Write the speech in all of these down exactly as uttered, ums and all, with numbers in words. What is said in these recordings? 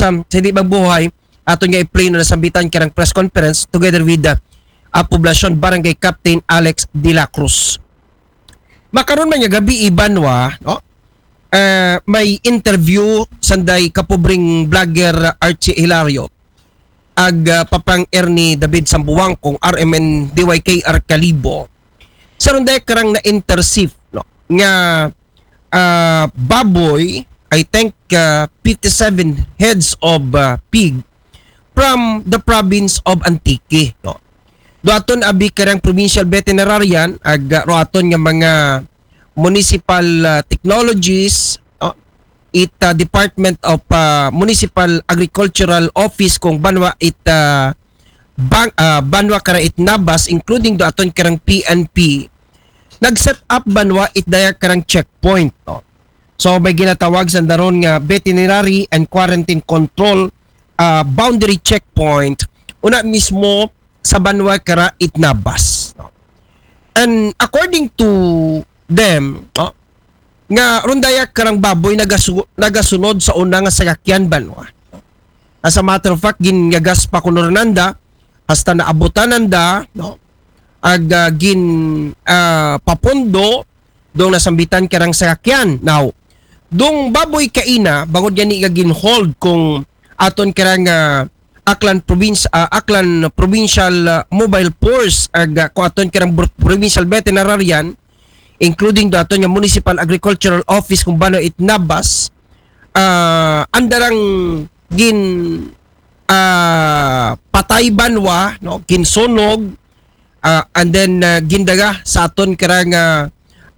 um, sa di magbuhay, aton nga i-play no nasambitan karang press conference together with the uh, Poblacion Barangay Captain Alex de la Cruz. Makaron man nga gabi, Ibanwa, no? Uh, may interview sanday kapobreng vlogger Archie Hilario ag uh, Papang Ernie David Sambuang kung R M N D Y K R Kalibo. Sa runday karang na-intercept, no? Nga uh, baboy, I think uh, fifty-seven heads of uh, pig from the province of Antique, no? Doaton abi karang provincial veterinarian ag uh, roaton nga mga municipal uh, technologies, no? It uh, Department of uh, Municipal Agricultural Office kung banwa it uh, bang, uh, banwa kara it Nabas, including doaton karang P N P, nag-set up banwa it daya karang checkpoint, no? So may ginatawag sandaron nga veterinary and quarantine control uh, boundary checkpoint una mismo sa banwa kara it Nabas, no? And according to them, no, nga rundaya karang baboy nagasu- nagasunod sa una nga sakakyan banwa. As a matter of fact, ginyagas pa kuno nanda hasta naabutan nanda, no? Ag uh, gin uh, papondo dong nasambitan karang sakakyan. Now, dong baboy kaina, bangod gani nga gin-hold kung aton karang uh, Aklan Province, uh, Aklan Provincial uh, Mobile Force ag uh, kung aton karang provincial veterinarian, including do aton nga Municipal Agricultural Office kung banwa it Nabas, uh, andarang gin uh, patay banwa, no, ginsunog, uh, and then uh, gindaga sa aton karang uh,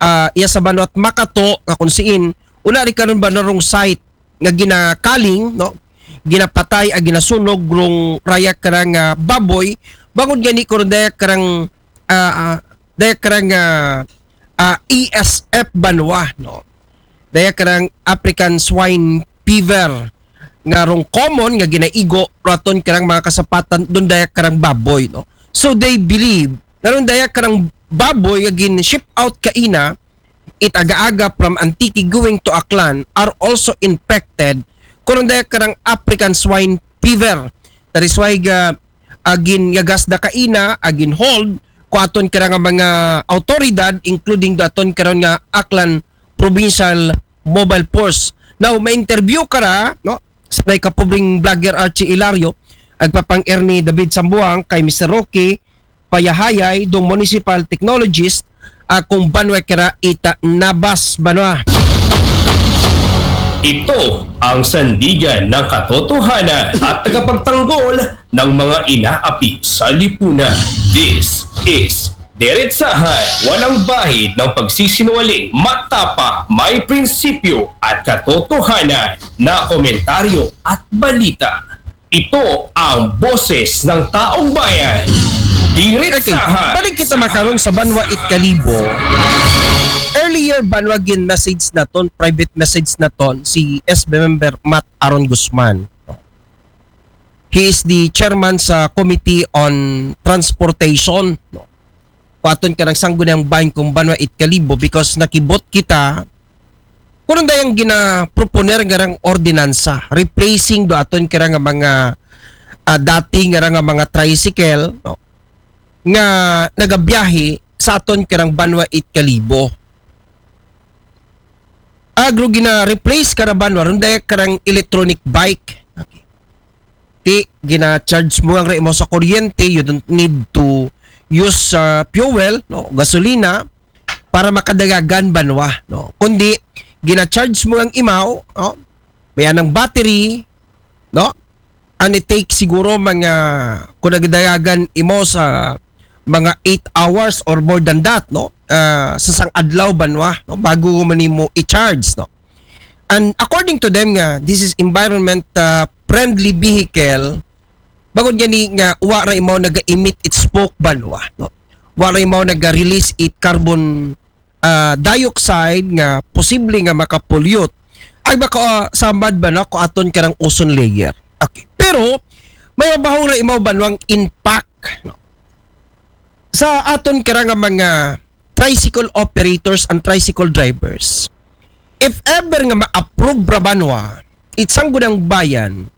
uh, iya sa banwa it Makato nga kung siin una ri karon ba narong site nga ginakaling, no, ginapatay ag ginasunog rong raya karang uh, baboy bangod gani ko dayak karang uh, uh, dayak karang uh, uh, E S F banwa, no, dayak karang African Swine Fever nga rong common nga ginaigo raton karang mga kasapatan don dayak karang baboy, no. So they believe nga ron dayak karang baboy nga gin ship out kaina it aga-aga from Antique going to Aklan are also infected kuno dayak karang African Swine Fever. That is why ga agin yagas da kaina, agin hold ko aton karang mga autoridad, including daton karon nga Aklan Provincial Mobile Force. Now, ma-interview kara, no, sa may kapubring vlogger Archie Hilario, agpapang Ernie David Sambuang kay Mister Rocky Payahayay dong municipal technologist uh, kung banwa kira ita Nabas banwa. Ito ang sandigan ng katotohanan at tagapagtanggol ng mga inaapi sa lipunan. This is Diretsahan, walang bahid ng pagsisinungaling, matapa, may prinsipyo at katotohanan na komentaryo at balita. Ito ang boses ng taong bayan. Diretsahan. Okay. Balik kita makarong sa Banwa it Kalibo. Earlier, Banwa, gin message naton, private message naton si S B member Matt Aaron Guzman. He is the chairman sa Committee on Transportation. Paton ka ng sanggunang bahin kung Banwa it Kalibo because nakibot kita kung dayang ginaproponer nga rang ordinansa, replacing do aton kira nga mga uh, dati nga nga mga tricycle, no, nga nagabiyahe sa aton kirang Banwa it Kalibo. Agro gina-replace ka na Banwa, ron daya karang electronic bike. Okay. Ti gina-charge mo ang imo sa kuryente, you don't need to use uh, fuel, no, gasolina para makadagagan Banwa, no. Kundi gina-charge mo ang imaw, no, may anang battery, no, and it takes siguro mga kung nagdayagan imo sa mga eight hours or more than that, no, uh, sa sang adlaw Banwa, no, bago mo nimo i-charge, no. And according to them nga this is environment uh, friendly vehicle, bangod gani nga wa ra imaw naga-emit it smoke Banwa, no, wa ra imaw naga-release it carbon uh, dioxide nga posible nga makapollute ay baka uh, samad ba na ko aton karang ozone layer. Okay. Pero may mabahong ra imaw Banwang impact, no, sa aton kara nga mga tricycle operators and tricycle drivers. If ever nga ma-approve ra Banwa it sanggunang bayan